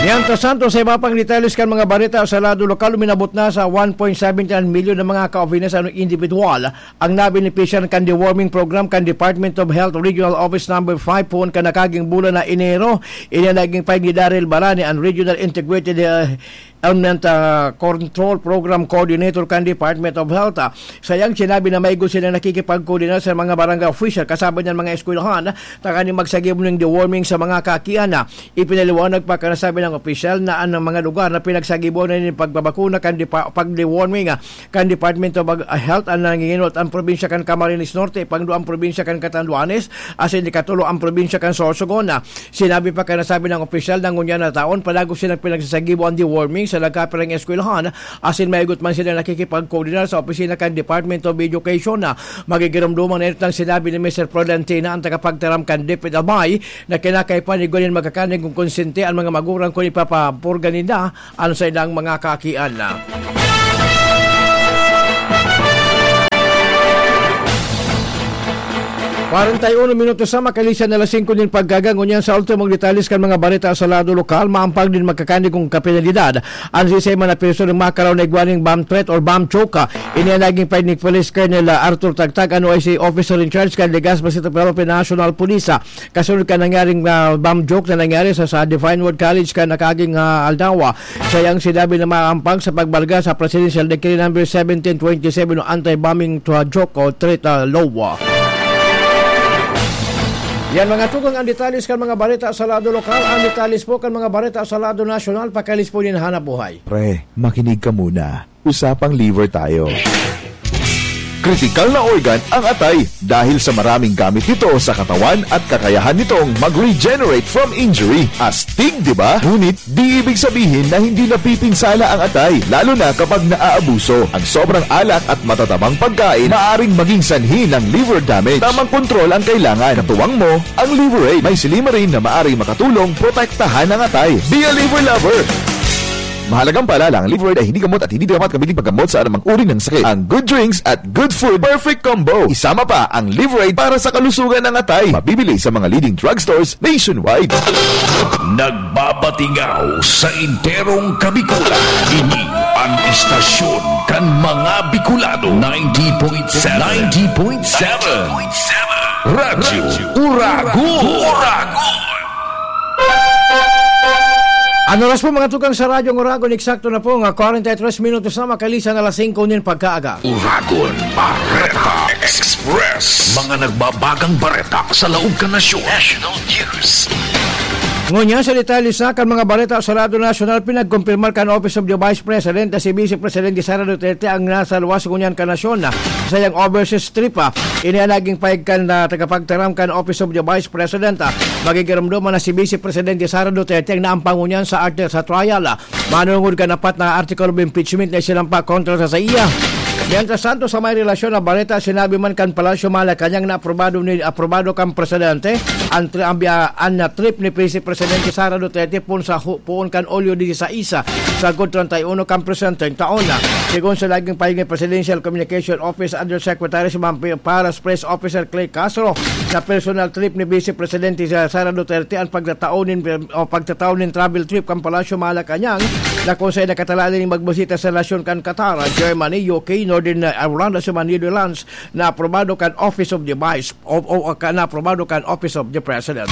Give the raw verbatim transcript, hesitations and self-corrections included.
Mientras tanto, sa iba pang detalles kan mga bareta sa lado lokal, uminabot na sa one point seven milyon na mga ka-Ovenes ano individual ang nabenepisyan kan deworming program kan Department of Health Regional Office Number five poon kan nakaging bulan na Enero. Ini ang naging pahayag ni Daryl Barani, ang Regional Integrated, uh, Ailment, uh, Control Program Coordinator kan Department of Health. Uh, sayang sinabi na maigo silang nakikipagkoordinar sa mga barangay official, kasabi niyan mga eskwelahan, tanganing magsagibo nin deworming sa mga kakian. Ipinaliwanag pa kan nasabi ng opisyal na ang mga lugar na pinagsagibo na nin pagbabakuna kan depa-, pag-deworming, ah, kan Department of Ag-, Health ang nanginginulat ang probinsya kan Camarines Norte, pangduang probinsya kan Catanduanes, asin ikatulo ang probinsya kan Sorsogon. Sinabi pa kan nasabi ng opisyal na ngunyan na taon, palagos silang pinagsasagibo ang deworming sa nagkapirang eskwelahan, asin maigot man sila nakikipagkoordinar sa opisina kan Department of Education. Magigiromdoman na ito ang sinabi ni Mister Florentino, ang tagapagtaram kan DepEd Albay, na kinakaipuhan igwa nin magkakaning kung konsente an mga magurang kun ipapapurga ninda an saindang mga kakian. Kwarenta y uno minutos na makalisan na alas singko nin pagkaga, ngunyan sa ultimong detalles kan mga bareta sa lado lokal, maampag nin magkakaning kung kapenalidad an sisay man na persona makaraw na igwa nin bomb threat or bomb choke. Ini ang naging pahayag ni Police Colonel, ah, Arthur Tagtag, an O I C officer in charge kan Legazpi City Province National Police, ah, kasunod kan nangyaring, ah, bomb choke na nangyari sa, sa Divine Word College kan nakaaging, ah, aldaw. Sayang sinabi na maampag sa pagbalga sa Presidential Decree Number seventeen twenty-seven o Anti-Bombing to a Joke o Threat, ah, Law. Yan, mga tugang, ang detalles kan mga bareta sa lado lokal. Ang detalles po kan mga bareta sa lado nasyonal, pakialis po nin hanap buhay. Pre, makinig ka muna. Usapang liver tayo. Kritikal na organ ang atay dahil sa maraming gamit nito sa katawan at kakayahan nitong mag-regenerate from injury. Astig, di ba? Ngunit, di ibig sabihin na hindi napipinsala ang atay, lalo na kapag naaabuso. Ang sobrang alak at matatabang pagkain maaring maging sanhi ng liver damage. Tamang kontrol ang kailangan. Katuwang mo ang Liver Aid. May silymarin na maaring makatulong protektahan ang atay. Be a liver lover! Mahalagang paalala, ang Liver Aid ay hindi gamot at hindi dapat gamitin paggamot sa anumang uri ng sakit. Ang good drinks at good food, perfect combo. Isama pa ang Liver Aid para sa kalusugan ng atay. Mabibili sa mga leading drugstores nationwide. Nagbabatingaw sa enterong Kabikulan. Ini ang istasyon kan mga Bicolano, ninety point seven. Ninety point seven. Radyo Uragon. Uragon. An oras po, mga tugang, sa Radyo Uragon, eksakto na po nga kwarenta y tres minutos na makalisan na alas singko nin pagkaaga. Uragon Bareta Express. Mga nagbabagang bareta sa laog kan nasyon. National News. Ngunyan sa detalye sa kan mga bareta sa lado nasyonal, pinagkumpirmar kan Office of the Vice President na si Vice Presidente Sara Duterte ang nasa luwas ngunyan kan nasyon na sa iyang overseas trip, ah. Ini ang naging pahayag kan, ah, tagapagtaram kan Office of the Vice President, ah. Magigiromdoman na si Vice Presidente Sara Duterte ang naampang ngunyan sa arte sa trial, ah. Manungod kan apat na article of impeachment na isinampa kontra sa saiya. Mientras tanto, sa may relasyon na bareta, sinabi man kan Palasyo Malacañang na aprobado ni, aprobado kan presidente ang tri-, ang biya-, an, ah, trip ni Vice Presidente Sara Duterte poon sa hu-, poon kan Hulyo dieciséis, sagkod treinta y uno kan presenteng taon. Segun sa naging pahayag ni Presidential Communication Office Undersecretary si Ma'am Pi-, Paras Press Officer Clay Castro, na personal trip ni Vice Presidente Sa-, Sara Duterte ang pagtatao nin, o pagtatao nin travel trip kan Palasyo Malacañang, na kung saan nakatalanin magbisita sa nasyon kan Qatar, Germany, U K, Northern Ireland, sa Netherlands, na aprobado kan Office of the Vice, o, o, ka, na aprobado kan Office of the President.